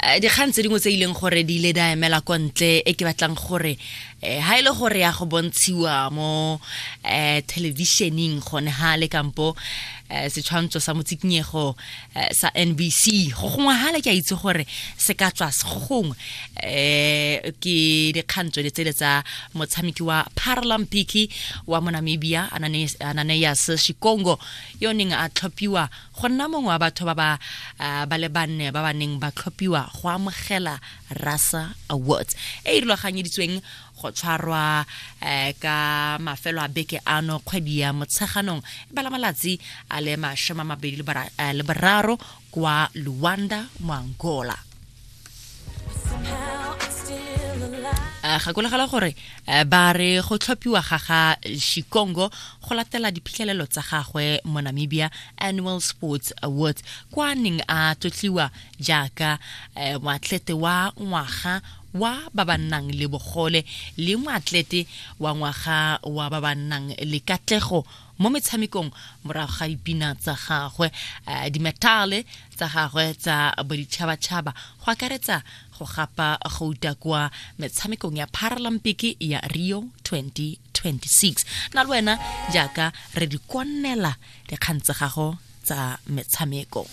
Dikgang tse dingwe tse e leng gore di ile da emela kwa ntle e ke batlang gore ha e le gore ya go bontshiwa mo thelebišeneng gone ha le kampo setshwantsho sa motsikinyego sa NBC go gongwe ha le ke a itse gore se ka tswa go gongwe ke dikgang tsone tsele tsa motshameki wa Paralympic wa mo Namibia, Ananias Shikongo, yo neng a tlhophiwa go nna mongwe wa batho ba ba ba le banne ba ba neng ba tlhophiwa go amogela Rasa Awards e e rulaganyeditsweng go tshwarwa ka mafelo a beke ano kgwedi ya Motsheganong e bala malatsi a le 23 kwa Luanda mo Angola. Gakologela gore ba re go tlhophiwa ga ga Shikongo go latela diphitlhelelo tsa gagwe mo Namibia Annual Sports Awards kwa neng a tlotliwa jaaka moatlete wa ngwaga wa ba ba nnang le bogole le moatlete wa ngwaga wa ba ba nnang le katlego mo metshamekong morago ga dipina tsa gagwe, dimetale tsa gagwe tsa boditšhabatšhaba, go akaretsa go gapa gouta kwa metshamekong ya Paralympic ya Rio 2026. Na le wena jaaka re di konnela dikgang tsa gago tsa metshameko.